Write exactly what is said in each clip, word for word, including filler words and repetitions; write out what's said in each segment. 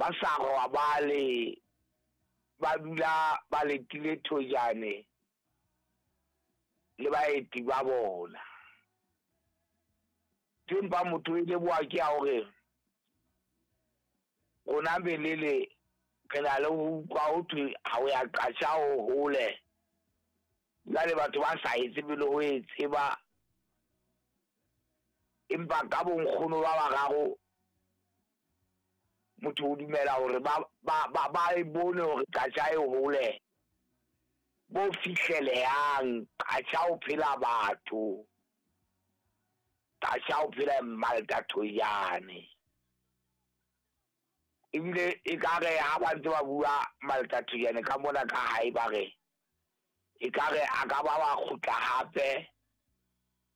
Ba sa robale, ba dula ba letile thojane le baeti ba bona. Empa motho e leboha ke ya hore rona belele re na le ho utlwa ho thwe ha o ya qasha ho hole. Jwale batho ba sa e tsebe le ho e tseba. Empa ka bo nkgono ba bararo motho o dumela hore ba ba ba ba e bone hore qasha e hole bo fihlelehang. Qasha ho phela batho. Qasha ho phela Malta Thojane. Ebile ekare ha ba ntse ba bua Malta Thojane ka mona ka hae ba re ekare a ka ba wa kgutla hape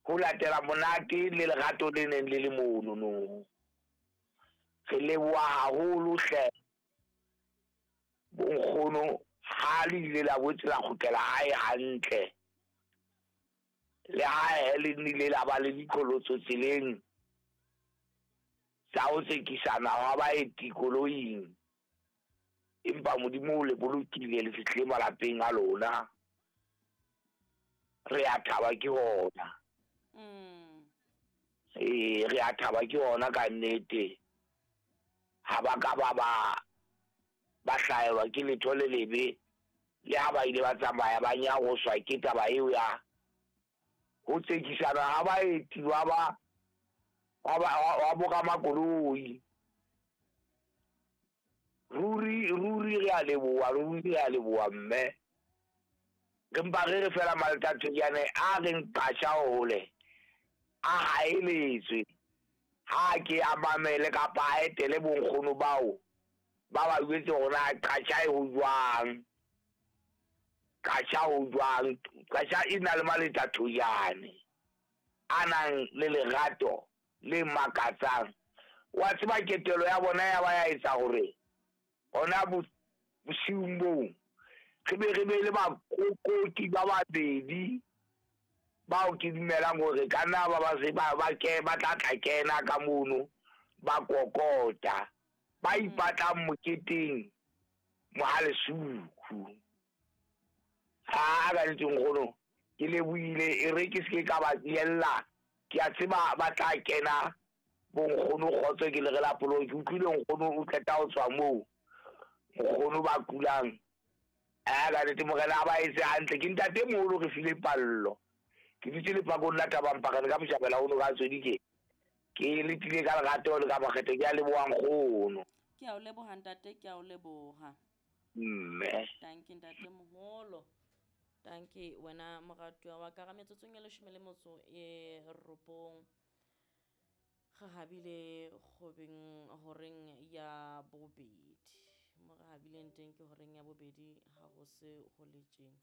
ho latela monate le lerato le neng le le mono no. Re leboha haholo hle bonkgono ha le ile la boetse la kgutlela hae hantle. Le ha le nnile la ba le diqholotso tseleng tsa ho tsekisana hwa baeti koloing. Empa Modimo o le bolokile le fihlile malapeng a lona. Re a thaba ke hona. Mm. Ee, re a thaba ke hona ka nnete. Ha ba ka ba ba ba hlaelwa ke letho le lebe, le ha ba ile ba tsamaya ba nyaroswa ke taba eo ya ho tsekisana ha baeti ba ba wa ba wa bo ramakoloi. Ruri ruri re a leboha, ruri re a leboha mme. Re mpa re re fela Malta Thojane a reng qasha hole a haeletswe. Ha ke a mamele kapa a etele bonkgono bao ba ba jwetse hore na qasha e ho jwang. Qasha ho jwang. Qasha e na le Malta Thojane a nang le lerato le makatsang. Wa tseba ketelo ya bona ya ba ya etsa hore hona bosiung boo re be re be le bakokoti ba babedi bao ke dumelang hore ka nna ba ba se ba ba ke ba tla tla kena ka mono ba kokota ba ipatlang moketeng Mohalesuku. Ha ka ntse nkgono ke lebohile e re ke se ke ka ba yella. Ke a tseba ba tla kena bonkgono kgotso ke le re la polo ke utlwile nkgono o qeta ho tswa moo nkgono ba kulang. A ka nnete morena a ba etse hantle. Ke ntate moholo re file pallo. Ke dutse lepakong la Thabampakane ka Moshabela ono ka tswedi ke. Ke letile ka lerato le ka makgethe ke a leboha nkgono. Ke a o leboha ntate, ke a o leboha. Mme. Dankie ntate moholo. Dankie wena moratuwa wa ka. Ra metsotsong e leshome le motso e robong. Re habile kgobeng horeng ya bobedi. Mo re habileng teng ke horeng ya bobedi ha ho se ho le tjena.